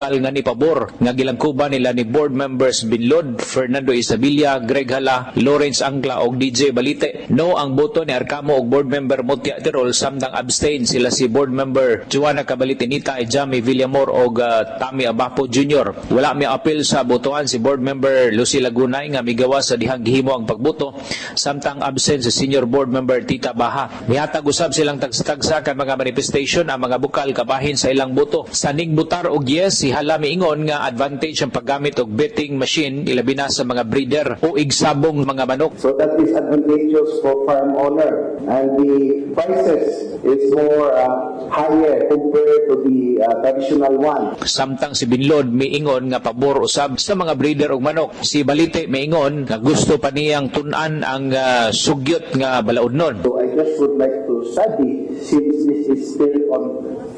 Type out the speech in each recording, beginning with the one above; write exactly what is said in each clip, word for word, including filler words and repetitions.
Nga ni pabor nga gilangkuban nila ni board members Binlod, Fernando Isabilla, Greg Hala, Lawrence Angla og D J Balite. No ang boto ni Arcamo og board member Mutia Tirol, samtang abstain sila si board member Joanna Cabalitinita, Jamie Villamor og uh, Tami Abapo Junior Wala mi apil sa botohan si board member Lucy Lagunay nga migawa sa dihang gihimo ang pagboto, samtang absent si senior board member Tita Baha. Mihatag usab silang tagsa-tagsa kan mga manifestation ang mga bukal kabahin sa ilang boto. Sa ningbutar og yes, si Hala miingon nga advantage ang paggamit og betting machine, ilabi na sa mga breeder o igsabong mga manok. So that is advantageous for farm owner, and the prices is more uh, higher compared to the uh, traditional one. Samtang si Binlod miingon nga pabor usab sa mga breeder og manok. Si Balite miingon nga gusto pa niyang tun-an ang uh, sugyot nga balaodnon. So I just would like to study since this is still on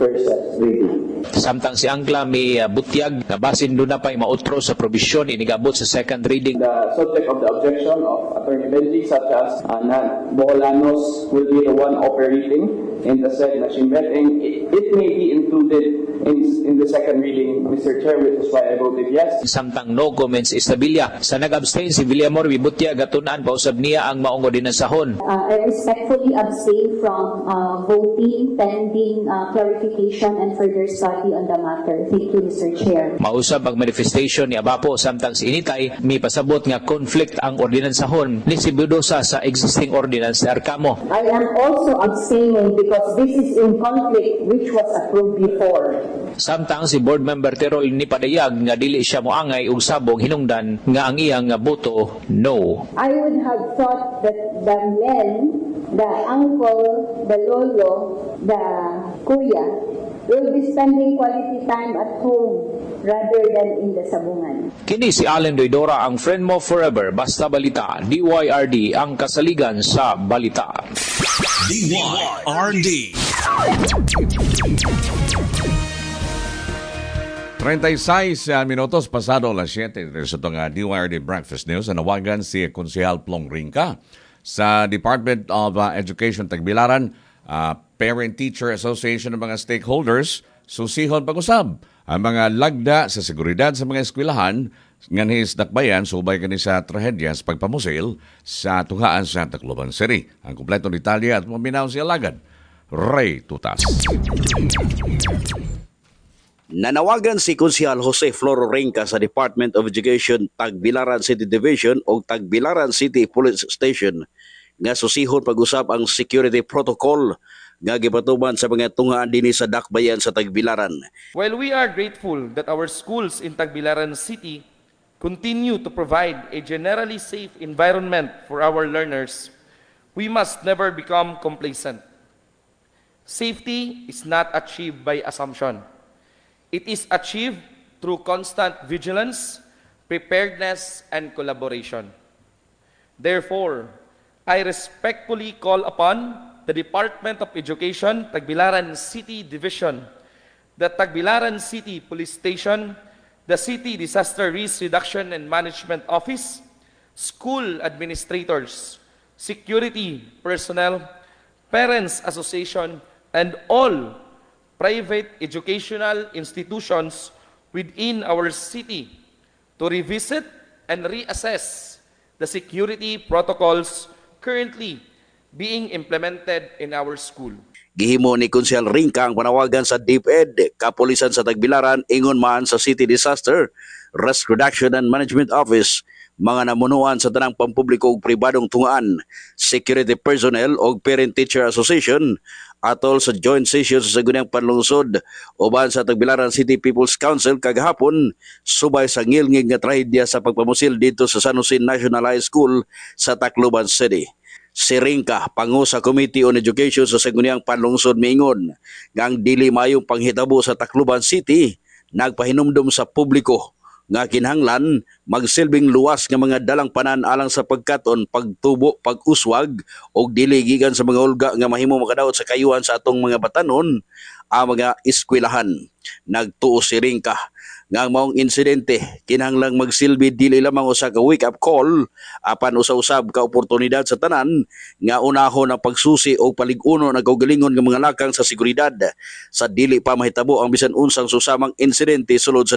first reading. Samtang si Angla mi uh, butyag nga basin duna pa'y mautro sa probisyon inigabot sa second reading. The subject of the objection of Attorney Benji, such as uh, na Boholanos will be the one operating in the said machine betting, it, it may be included in, in the second reading, Mister Chair, which is why I voted yes. Samtang no comments Isabilla. Sa nag-abstain si Villamor, mibutyag nga tun-an pa usab niya ang maong ordinansahon. Uh, I respectfully abstain from uh, voting pending uh, clarification and further study on the matter. Thank you, Mister Chair. Mausab ang manifestation ni Abapo, samtang si Initay mi pasabot nga conflict ang ordinansahon ni si Budosa sa existing ordinance ni Arcamo. I am also abstaining because this is in conflict which was approved before. Samtang si board member Terol ni padayag nga dili siya moangay og sabong hinungdan nga ang iyang boto no. I would have thought that the men, the uncle, the lolo, the kuya, will be spending quality time at home rather than in the sabungan. Kini si Allen Doidora, ang friend mo forever, basta balita, D Y R D ang kasaligan sa balita. D Y R D. treinta y seis uh, minutos pasado las siyete sa itong uh, D Y R D Breakfast News. Nanawagan si Konsehal Plong Ringka sa Department of uh, Education Tagbilaran, uh, Parent-Teacher Association ng mga stakeholders, susihon pag-usab ang mga lagda sa seguridad sa mga eskwelahan nganhi sa Dakbayan subay kani sa trahedya sa pagpamusil sa tunghaan sa Tacloban City. Ang kompletong detalye at maminaw si Alagad Ray Tutas. Nanawagan si Konsehal Jose Floro Ringca sa Department of Education Tagbilaran City Division o Tagbilaran City Police Station nga susihon pag-usab ang security protocol nga gipatuman sa mga tunghaan dinhi sa Dakbayan sa Tagbilaran. While we are grateful that our schools in Tagbilaran City continue to provide a generally safe environment for our learners, we must never become complacent. Safety is not achieved by assumption. It is achieved through constant vigilance, preparedness, and collaboration. Therefore, I respectfully call upon the Department of Education, Tagbilaran City Division, the Tagbilaran City Police Station, the City Disaster Risk Reduction and Management Office, school administrators, security personnel, Parents Association, and all private educational institutions within our city to revisit and reassess the security protocols currently being implemented in our school. Gihimo ni Konsehal Ringka ang panawagan sa DepEd, Kapulisan sa Tagbilaran, ingon man sa City Disaster Risk Reduction and Management Office, mga namunuan sa tanang pampubliko ug pribadong tungaan, security personnel ug Parent-Teacher Association atol sa joint session sa Sangguniang Panlungsod uban sa Tagbilaran City People's Council kagahapon subay sa ngilngig nga trahedya sa pagpamusil dito sa San Jose National High School sa Tacloban City. Si Ringka, pangu sa Committee on Education sa Sangguniang Panlungsod, miingon nga ang dili mayong panghitabo sa Tacloban City nagpahinumdom sa publiko nga kinahanglan magsilbing luwas nga mga dalangpanan alang sa pagkaton, pagtubo, pag-uswag og dili gikan sa mga hulga nga mahimo makadaot sa kayuhan sa atong mga batanon ang mga eskwelahan. Nagtuo si Ringka nga ang maong insidente kinahanglang magsilbi dili lamang usa ka wake up call apan usa-usab ka oportunidad sa tanan nga unahon ang pagsusi o palig-uno ng kaugalingon nga mga lakang sa seguridad sa dili pa mahitabo ang bisan unsang susamang insidente sulod sa